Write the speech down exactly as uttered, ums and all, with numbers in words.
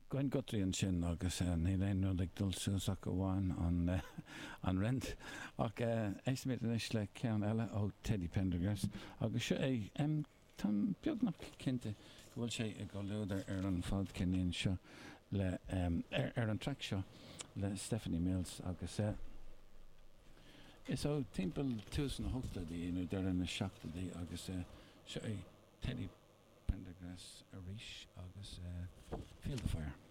Gwen Guthrie ansin agus níl aon rud ag dul suas ach amháin an an rent. Ach éistfimid anois le ceann eile ó Teddy Pendergrass agus seo é Táim beagnach cinnte go bhfuil sé i gcomhluadar ar an fadcheirnín seo le ar an traic seo le Stephanie Mills agus is ó timpeall tús na hochtóidí nó deireadh na seachtóidí agus seo é Teddy Pendergrass arís agus Feel the Fire.